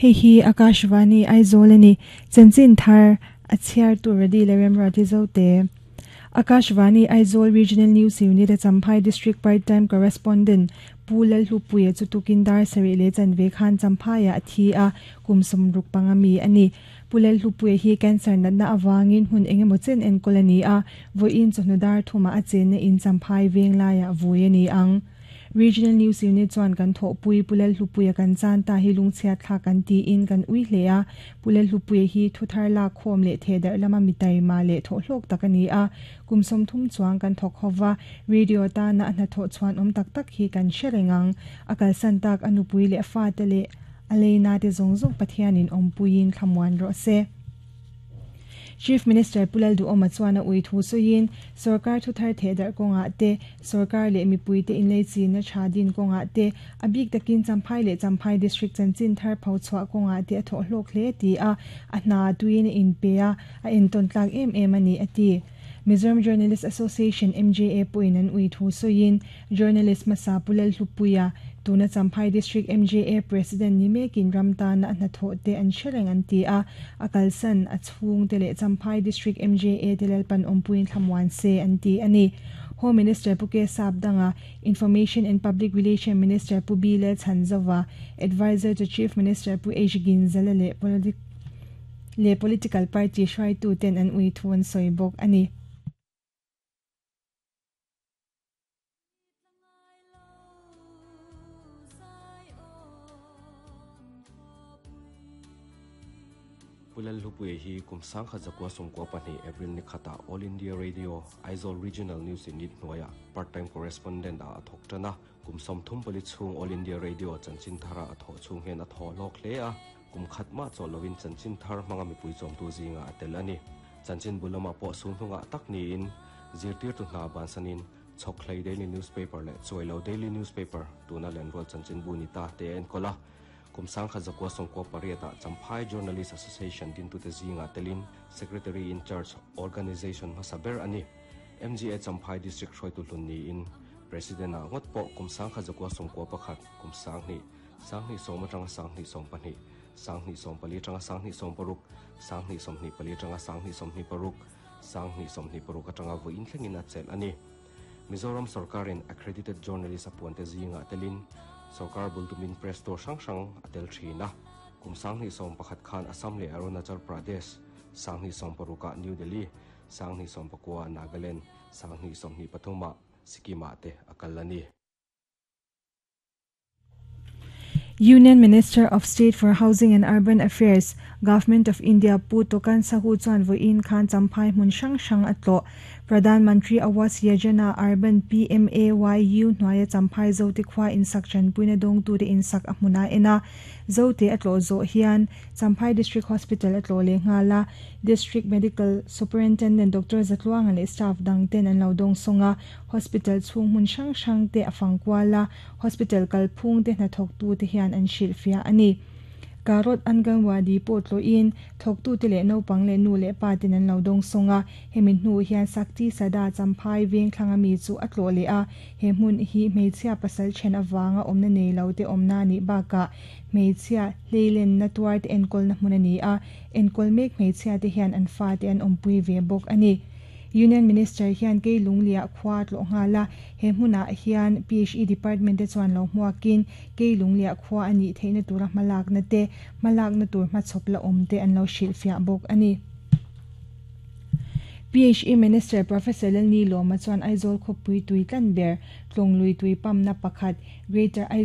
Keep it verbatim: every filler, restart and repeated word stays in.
Hei hi Akashvani Aizawl ani chanchin thar a chhiar tur ready le remra ti zo te Akashvani Aizawl Regional News Unit a Champhai District Part-time Correspondent Pulal Hlupuia chu tukin dar sarih leh chanve khan Champhaiah a thi a kum sawmruk panga mi ani Pulal Hlupuia hi cancer natna awangin hun engemaw chen enkawl ani a vawiin chawhnu dar thuma a chenna in Champhai veng laiah vui ani ang Regional News Unit chuan kan thawhpui Pulal Hlupuia kan chan ta hi lungchhiat thla kan tiin kan ui hle a Pulal Hlupuia hi thuthar lak khawm leh thedar lama mitai ma leh thaw hlawk tak ani a kum som thum chuang kan thawk howa radio ta na na thaw chuan awm tak tak hi kan hrerengang akal san tak anupui leh fa te leh aleina te zawng zawng Pathianin awmpuiin thlamuan rawh se Chief Minister Pulal Duhoma chuan a ui thu suiin sarkar thuthar thedar kawnga te sarkar leh mipui te inlei chin na tha din kawnga te a bik takin Champhai leh Champhai District chanchin thar pho chhuah kawnga te a thaw hlawk hle ti a a hna tuin in pe a a enton tlak em em ani ati Mizoram Journalist Association M J A puin an ui thu suiin journalist masa Pulal Hlupuia tuna Champhai District M J A President ni mekin ramta na na tho te an shereng an ti a akalsan a chhung te leh Champhai District M J A telal pan ompuin thlamuan se an ti ani Home Minister Puke Sapdanga Information and Public Relation Minister Pu Bile Chanzawa Advisor to Chief Minister Pu H Ginzala le politic le political party hrai tu ten an ui thuan soibok ani Pulal Hlupuia hi kum sangkhat zakua sawmkua pahnih April ni khata All India Radio Aizawl Regional News Unit hnuaia part-time correspondent a thawk tan a kum sawmthum pali chhung All India Radio chanchin thara a thawh chhung hian a thaw hlawk hle a kum khat ma chaw lovin chanchin thar hmanga mipui chawmtu zinga a tel ani chanchin bulama pawh sulhnunga tak niin zirtir tu hna bansanin Chhawkhlei Daily Newspaper leh Chuailo Daily Newspaper tuna lenrual chanchin bu ni ta te en kola kum sangkhat zakua sawmkua pariata Champhai Journalist Association din tu te zinga telin Secretary in Charge Organization hmasaber ani M G A Champhai District hruaitu hlun niin President a ngot pawh kum sangkhat zakua sawmkua pakhat kum sanghnih sanghnih sawm atanga sanghnih sawm pahnih sanghnih sawm pali atanga sanghnih sawm paruk sanghnih sawmhnih pali atanga sanghnih sawmhnih paruk sanghnih sawmhnih paruk atanga vawiin thlengin a chelh ani Mizoram Sarkarin accredited journalist apuan te zinga telin Sarkar bultumin press to sang sang atel thina kum sanghnih sawm pakhat khan Assam leh Arunachal Pradesh sanghnih sawm paruka New Delhi sanghnih sawm pakua Nagaland sanghnih sawmhnih pathuma Sikkim te akalani Union Minister of State for Housing and Urban Affairs, Government of India Pu Tokan Sahu chuan vawiin khan Champhai hmun hrang hrang a tlawh Pradhan Mantri Awas Yojana Urban P M A Y U hnuaia Champhai Zote khua insak chanpuina dawng tu te insak a hmuna ena Zote a tlawh zawh hian Champhai District Hospital a tlawh leh nghala District Medical Superintendent Doctor Zatluanga leh staff dang ten an lo dawng sawnga hospital chhung hmun hrang hrang te a fangkuala hospital kalphung te hnathawk tu te hian an hrilh fia ani Karot Anganwadi pawh tlawhin thawktu te leh naupang leh nu leh pa ten an lo dawng sawnga hemi hnu hian Sakti Sada Champhai veng thlanga mi chu a tlawh leh a he hmun hi hmeichhia pasal then awanga awmna nei lo te awmna ni bakah hmeichhia hleilen na tuar te enkawl na hmun ani a enkawl mek hmeichhia te hian an fa te an awmpui ve bawk ani Union Minister hian kei lunglia khua tlawh nghala he hmunah hian P H E Department te chuan lo hmuakin kei lunglia khua ani theihna tura hmalak na te hmalak na tur hmachhawp la awm te an lo hrilh fiah bawk ani P H E Minister Professor Lalni Loma chuan Aizawl khawpui tui tlan ber tlawng lui tui pam na pakhat Greater